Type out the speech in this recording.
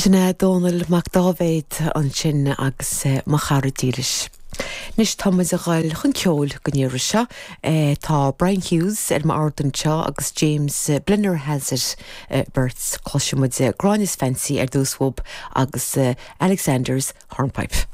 Sin é Dónall Mac Dáibhéid ansin agus Mo Chara Dílis. Anois tá muid a dhul chun ceoil don iarraidh seo. Tá Brian Hughes ar m'ard anseo agus James Blennerhassett beirt. Cloisfidh muid Gráinne's Fancy ar dtús uathub agus Alexander's Hornpipe.